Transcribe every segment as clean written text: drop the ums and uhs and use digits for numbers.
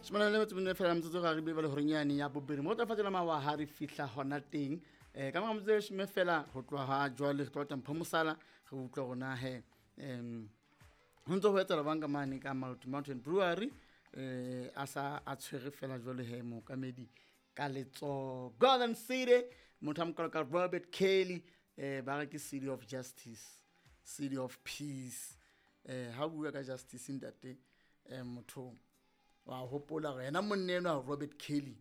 44 fela metsotso ga re bile le horeng ya bobedi mo tla fatela mawa ha re fihla hona teng ka mora metsotso e leshome fela ho tloha jwale re tlo mpho mosala re utlwa rona he ho ntse ho etsahala bang ka mane ka Maluti Mountain Brewery a sa a tshwere fela jwale he mookamedi ka letsoho Golden City motho a mokalo ka Robert Kelly ba re ke City of Justice, City of Peace. Ha o bua ka justice ntate, motho wa hopola hore yena monna enwa Robert Kelly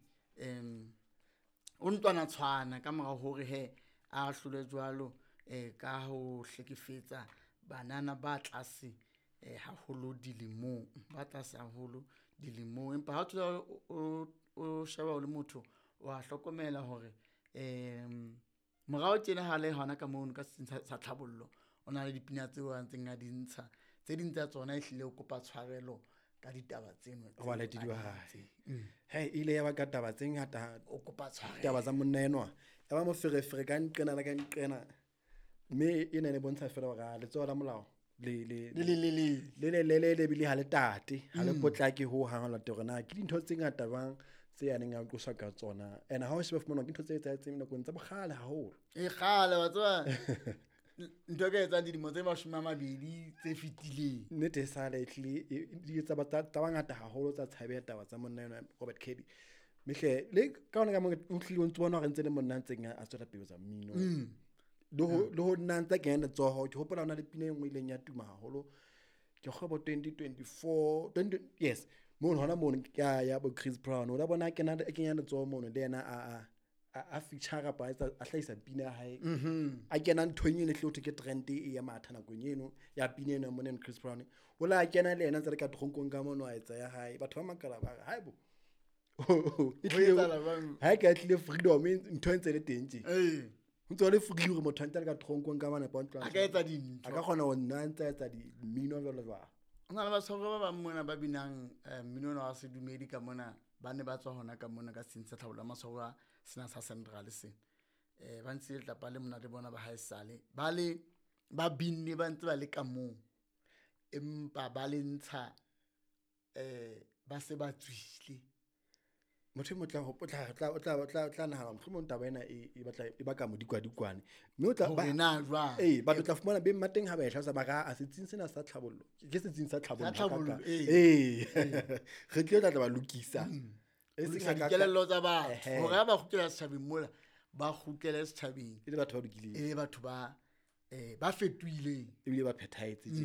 o ntlwana tshwana ka mora hore he a hlole jwalo ka ho hlekefetsa banana ba tlase haholo dilemong, ba tlase haholo dilemong. Empa ha o thola o sheba o le motho wa hlokomela hore morao tjena ha le hona ka mono ka setsing sa tlhabollo o na le dipina tseo a ntseng a di ntsha, tse ding tsa tsona ehlile o kopa tshwarelo ka ditaba tseno Ho balatedi ba hae. He ile ya ba ka taba tse ngata, o kopa tshwarelo taba tsa monna enwa ya ba moferefere ka nqena le ka nqena, mme e ne e bontsha fela hore a letsoho la molao le le le le le le le le le le ebile ha le tate, ha le potlake ho hang ho lata hore na ke dintho tse ngata jwang tse a neng a qoswa ka tsona. And ha o sheba fumana ke ntho tse etsahetseng nakong tsa bokgale haholo. E kgale wa tseba ntho e ka etsang dilemo tse 20 tse fetileng. Nnete e sale ehlile di etsa tsa bangata haholo tsa tshabeha taba tsa monna enwa Robert Kelly. Mehle le ka hona ka mo o hlile o ntso bona hore ntse le monna a ntseng a tswela pele tsa mmino. Le ho nna ntse kenya letsoho, ke hopola hona le pina e nngwe ileng ya tuma haholo. Ke kgwebo 2024, twenty, yes, mono hona mono ke ya bo Chris Brown. O la bona kena kenya letsoho mono le yena a feature kapa a etsa, a hlahisa pina ya hae. A kena nthong eno e hle ho thwe ke trend e ya matha nakong eno ya pina eno ya monna Chris Brown. O la kena le yena ntse le ka tronkong ka mono a etsa ya hae. Batho ba makala ba re, "Haibo." E Ho tlile etsahala jwang? Ha e ka e tlile freedom, ntho e ntse le teng tje. Ee. Ho ntse ho le free hore motho a ntse a le ka tronkong ka mane, A ka etsa dintho. A ka kgona ho nna ntse a etsa mmino jwalo jwalo. Ho na le batshwaruwa ba bang mona ba binang mmino ona wa sedumedi ka mona, ba ne ba tswa hona ka mona ka setsing sa tlhabollo ya matshwaruwa sena sa Central sena. Ba ntshitse letlapa le monate bona ba haesale. Ba le, ba binne ba ntse ba le ka moo. Empa ba le ntsha ba se ba tswile. Motho e mong o tla nahana mohlomong taba ena e batla e baka modikwadikwane. Mme o tla Hore na jwang? Ee, batho tla fumana beng ba teng ha ba e hlalosa ba re, a setsing sena sa tlhabollo. Ke setsing sa tlhabollo Sa tlhabollo, hakakang. ee. Ee. Re tlile tla tla ba lokisa. E seng Lokisa hakaka. dikelello tsa batho. Ehe. Hore ha ba kgutlela setjhabeng mola, ba kgutlele setjhabeng. E le batho ba lokileng. E le batho ba fetohileng. Ebile ba phethahetse tje.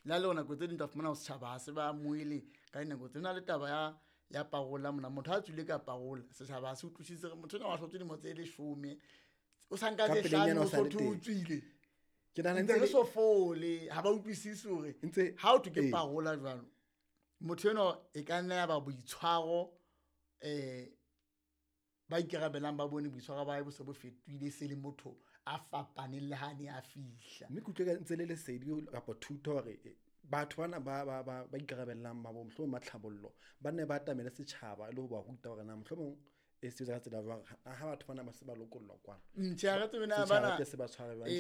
Le ha le hore nako tse ding tla fumana hore setjhaba ha se ba amohele ka dinako tse. Ho na le taba ya parola mona, motho ha tswile ka parola, setjhaba ha se utlwisise hore motho enwa wa hlotse dilemo tse 10, o sa nka Ka tse pelenyana hlano, o sa le o so thwe o teng. tswile. Ke nahana Ntse ntse re le so fole, ha ba utlwisise hore Ntse ha o thwe ke ee. parola jwalo, motho enwa e ka nna ya ba boitshwaro, ba ikarabelang ba bone boitshwaro ba hae bo se bo fetohile, se le motho a fapaneng le ha ne a fihla. Mme ke utlwe ka ntse le lesedi kapa thuto hore batho bana ba ikarabellang ba bo mohlomong ba tlhabollo, ba nne ba atamele setjhaba le ho ba ruta hore na mohlomong e sebetsa ka tsela jwang, ha batho bana ba se ba lokollwa kwana. Tjhe, ha re tsebe na Setjhaba bana ke se ba tshware jwang. Ee,